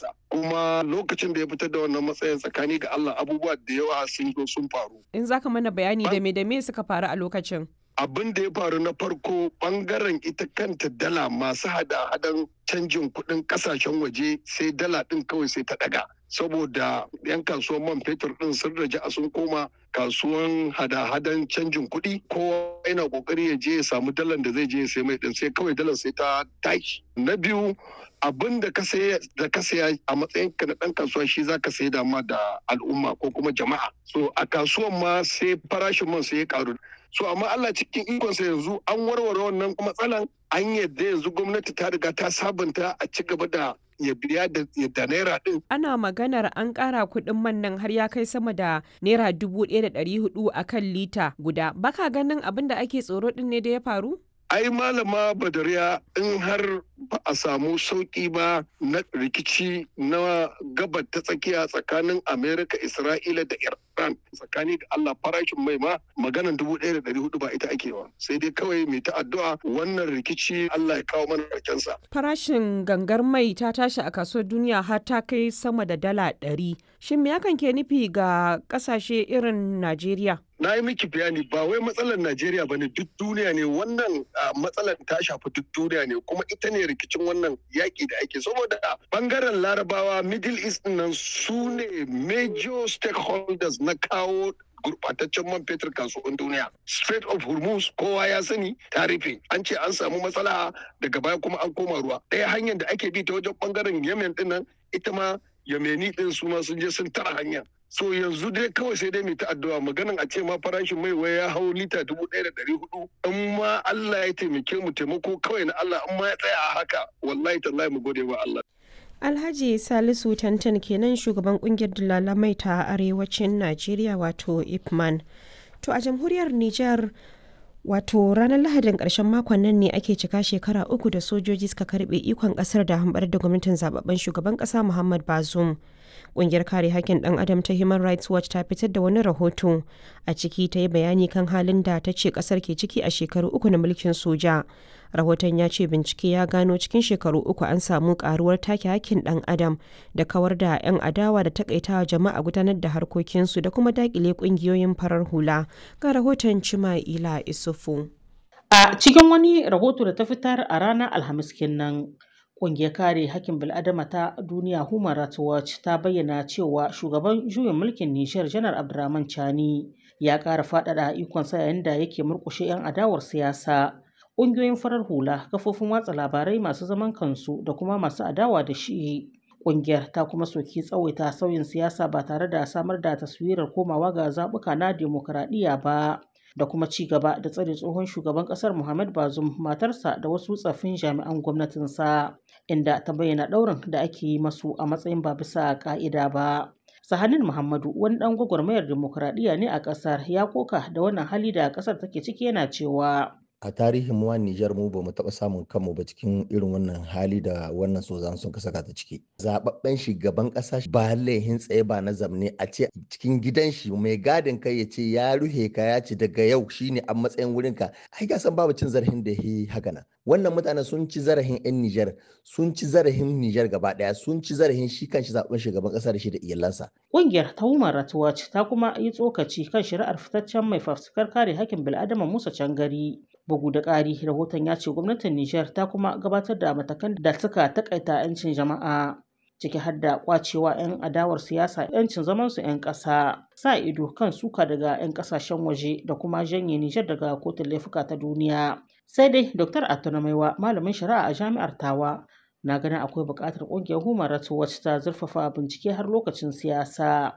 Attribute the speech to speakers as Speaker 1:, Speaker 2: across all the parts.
Speaker 1: matsayinsa. Kuma lokacin da ya fitar da wannan matsayin, tsakani ga Allah, abubuwa da yawa sun zo sun faru.
Speaker 2: In zaka mana bayani, da me suka faru a lokacin?
Speaker 1: Abin da ya faru na farko, bangaren ita kanta dala, masu hada-hadan canjin kuɗin kasashen waje, sai dala ɗin kawai sai ta ɗaga, saboda 'yan kasuwan man fetur ɗin sun raja sun koma kasuwan hada-hadan canjin kuɗi. Kowa yana kokari ya je ya samu dalar da zai je ya sai mai ɗin, sai kawai dalar sai ta tashi. Na biyu, abin da ka saya a matsayin ka na ɗan kasuwa, shi za ka sayi dama da al'umma ko kuma jama'a. So a kasuwan ma sai farashin man sai ya karu. So amma Allah cikin ikonsa, yanzu an warware wannan matsalan. An yadda yanzu gwamnati ta riga ta sabunta a ci gaba da ya biya da naira din.
Speaker 2: Ana maganar an ƙara kuɗin man nan har ya kai sama da naira 1,400 a kan lita guda. Baka ganin abin da ake tsoro ɗin ne da ya faru?
Speaker 1: Ai Malama Badariya, in har ba a samu sauki ba na rikici na gabar ta tsakiya tsakanin Amerika, Isra'ila da Iran, tsakani da Allah, farashin mai ma maganan 1,400 ba ita ake ba. Sai dai kawai mai ta addu'a wannan rikici Allah ya kawo mana sa.
Speaker 2: Farashin gangar mai ta tashi a kasuwar duniya har ta kai sama da dala 100. Shin me hakan ke nufi ga kasashe irin Najeriya?
Speaker 1: Na yi miki bayani, ba wai matsalar Najeriya ba ne, duk duniya ne wannan matsalar ta shafi duk duniya ne. Kuma ita ne rikicin wannan yaƙi da ake, saboda bangaren Larabawa, Middle East nan, su ne major stakeholders na kawo gurbataccen man fetur kasuwan duniya. Strait of Hormuz, kowa ya sani, ta rufe. An ce an samu matsala, daga baya kuma an koma ruwa. Ɗaya hanyar da ake bi ta wajen bangaren Yemen din nan, ita ma Yemeni din su ma sun je sun tara hanya. So yanzu dai kawai sai dai mai ta addu'a. Maganan a ce ma farashin mai wai ya hau lita 1,400, in ma Allah ya taimake mu, taimako kawai na Allah, in ma ya tsaya a haka, wallahi tallahi mu gode wa Allah.
Speaker 2: Alhaji Salisu Tantan kenan, shugaban kungiyar dalalamai mai ta arewacin Najeriya, wato Ipman. To a jamhuriyar Nijar, wato ranar Lahadin ƙarshen makon nan ne ake cika shekara 3 da sojoji suka karbe ikon ƙasar da hambar da gwamnatin zababben shugaban ƙasa Muhammad Bazoum. Ƙungiyar kare hakkin ɗan adam ta Human Rights Watch ta fitar da wani rahoto. A ciki ta yi bayani kan halin da ta ce ƙasar ke ciki a shekaru 3 na mulkin soja. Rahoton ya ce bincike ya gano cikin shekaru 3 an samu karuwar take hakkin ɗan adam da kawar da 'yan adawa da takaitawa jama'a gudanar da harkokinsu da kuma dakile ƙungiyoyin farar hula. Ga rahoton Cima'ila Isufu.
Speaker 3: A cikin wani rahoto da ta fitar a ranar Alhamis kenan, ƙungiyar kare hakkin bil'adama ta duniya Human Rights Watch ta bayyana cewa shugaban juyin mulkin Nijar, Janar Abdurrahman Chani, ya ƙara faɗaɗa ikonsa yayin da yake murƙushe 'yan adawar siyasa, ƙungiyoyin farar hula, kafofin watsa labarai masu zaman kansu da kuma masu adawa da shi. Ƙungiyar ta kuma soki tsawaita sauyin siyasa ba tare da samar da taswirar komawa ga zaɓuka na dimokuraɗiyya ba, da kuma ci gaba da tsare tsohon shugaban kasar Muhammad Bazoum, matarsa da wasu tsaffin jami'an gwamnatinsa, inda ta bayyana ɗaurin da ake yi masu a matsayin ba bisa ka'ida ba. Sahanin Muhammadu, wani ɗan gwagwarmayar dimokuraɗiyya ne a ƙasar, ya koka da wannan hali da ƙasar take ciki, yana cewa:
Speaker 4: A tarihin mu Nijar, mu ba mu taɓa samun kanmu ba cikin irin wannan hali da wannan sozan sun ka saka ta ciki. Zababben shugaban ƙasa, ba laihin tsaye ba na zamne, a ce cikin gidan shi mai gadin kai ya ce ya ruhe ka, ya ce daga yau shine a matsayin wurin ka. Ai ka san babu cin zarafin da yi haka nan. Wannan mutanen sun ci zarafin 'yan Nijar, sun ci zarafin Nijar gaba ɗaya, sun ci zarafin shi kanshi zaɓen shugaban ƙasa da shi da iyalansa.
Speaker 3: Ƙungiyar ta Human Rights Watch ta kuma yi tsokaci kan shari'ar fitaccen mai fafutukar kare hakkin bil'adama Musa Cangari. Bugu da ƙari, rahoton ya ce gwamnatin Nijar ta kuma gabatar da matakan da suka takaita 'yancin jama'a, ciki har da kwacewa 'yan adawar siyasa 'yancin zamansu 'yan ƙasa, sa ido kan suka daga 'yan ƙasashen waje da kuma janye Nijar daga kotun laifuka ta duniya. Sai dai Dr. Attuna Maiwa, malamin shari'a a jami'ar Tawa, na ganin akwai buƙatar ƙungiyar Human Rights Watch ta zurfafa bincike har lokacin siyasa.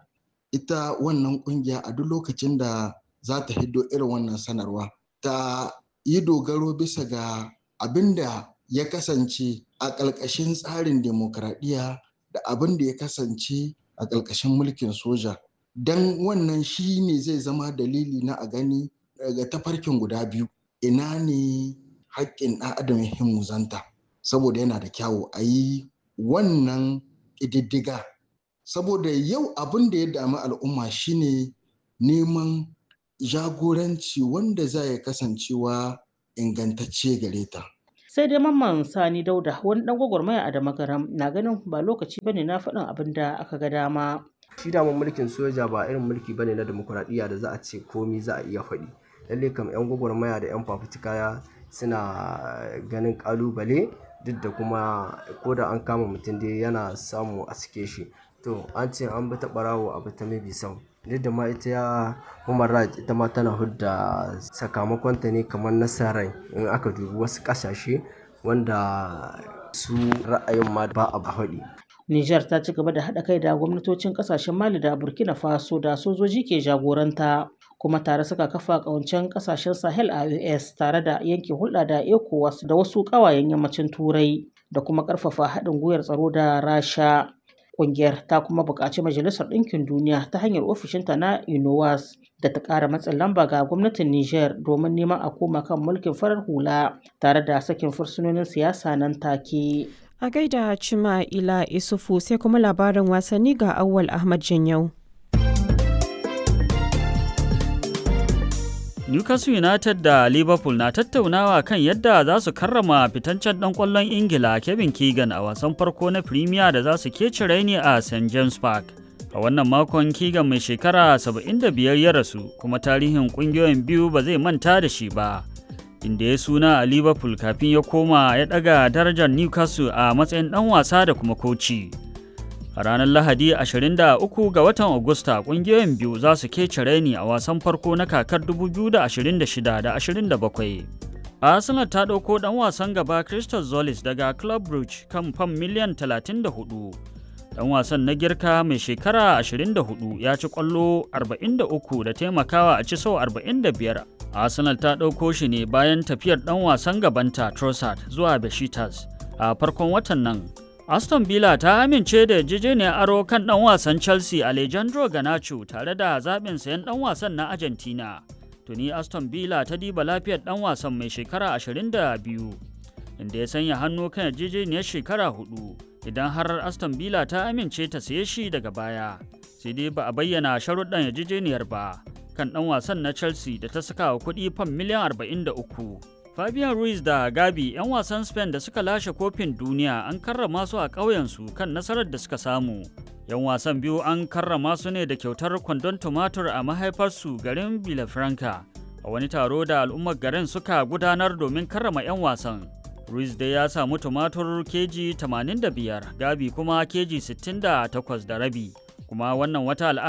Speaker 5: Ita wannan ƙungiya, a duk lokacin da za ta hiddo irin wannan sanarwa, ta yi dogaro bisa ga abin da ya kasance a ƙalƙashin tsarin demokradiyya da abin da ya kasance a ƙalƙashin mulkin soja. Don wannan shi ne zai zama dalili na a gani daga tafarkin guda biyu, ina ne haƙƙin ɗan adam ya muzanta, saboda yana da kyawu a yi wannan ƙididdiga. Saboda yau abin da ya dami al'umma shine neman jagoranci wanda za ya kasancewa ingantacce gare ta.
Speaker 3: Sai dai Mamman Sani Dauda wani dan gwagwarmaya a Damagaram na ganin ba lokaci bane na faɗin abin da aka ga dama.
Speaker 6: Shi daman mulkin soja ba irin mulki bane na demokuraɗiyya da za a ce komi za a iya faɗi. Lalle kam 'yan gwagwarmaya da 'yan fafutuka suna ganin ƙalubale duk da kuma ko da an kama mutum dai yana samu a sike shi. To an ce an bi ta ɓarawo a bi ta mabi sau. Duk da ma ita ya human rights ita ma tana hudda sakamakonta ne kamar nasarar in aka dubi wasu ƙasashe wanda su ra'ayin ma ba a faɗi.
Speaker 3: Nijar ta ci gaba da haɗa kai da gwamnatocin ƙasashen Mali da Burkina Faso da sojoji ke jagoranta kuma tare suka kafa ƙawancen ƙasashen Sahel a US tare da yanke hulɗa da ECOWAS da wasu ƙawayen yammacin Turai da kuma ƙarfafa haɗin gwiwar tsaro da Rasha. Ƙungiyar ta kuma buƙaci Majalisar Ɗinkin Duniya ta hanyar ofishinta na UNOWAS da ta ƙara matsin lamba ga gwamnatin Nijar domin neman a koma kan mulkin farar hula tare da sakin fursunonin siyasa nan take.
Speaker 2: A gaida Cima Ila Isufu sai kuma labarin wasanni ga Auwal Ahmad Janyau.
Speaker 7: Newcastle United da Liverpool na tattaunawa kan yadda za su karrama fitancen ɗan ƙwallon Ingila Kevin Keegan a wasan farko na Premier da za su keci raini a St James Park. A wannan makon Keegan mai shekara 75 ya rasu kuma tarihin ƙungiyoyin biyu ba zai manta da shi ba. Inda ya suna a Liverpool kafin ya koma ya ɗaga darajar Newcastle a matsayin ɗan wasa da kuma koci. A ranar Lahadi 23 ga watan Agusta kungiyoyin biyu za su kece raini a wasan farko na kakar 2026 da 27. Arsenal ta ɗauko ɗan wasan gaba Christos Zolis daga Club Brugge kan fam miliyan 34. Ɗan wasan na girka mai shekara 24 ya ci ƙwallo 43 da taimakawa a ci sau 45. Arsenal ta ɗauko shi ne bayan tafiyar ɗan wasan gabanta Trossard zuwa Besiktas a farkon watan nan. Aston Villa ta amince da yarjejeniyar aro kan ɗan wasan Chelsea Alejandro Garnacho tare da zaɓin sayan ɗan wasan na Argentina. Tuni Aston Villa ta diba lafiyar ɗan wasan mai shekara 22, inda ya sanya hannu kan yarjejeniyar shekara hudu idan har Aston Villa ta amince ta saye shi daga baya. Sai dai ba a bayyana sharuɗan yarjejeniyar ba kan ɗan wasan na Chelsea da ta saka wa kuɗi fam miliyan 43. Fabian Ruiz da Gabi 'yan wasan Spain da suka lashe kofin duniya an karrama su a ƙauyensu kan nasarar da suka samu. 'Yan wasan biyu an karrama su ne da kyautar kwandon tumatur a mahaifarsu garin Villafranca a wani taro da al'ummar garin suka gudanar domin karrama 'yan wasan. Ruiz dai ya samu tumatur keji 85, Gabi kuma keji 68 da rabi. Kuma wannan wata al'ada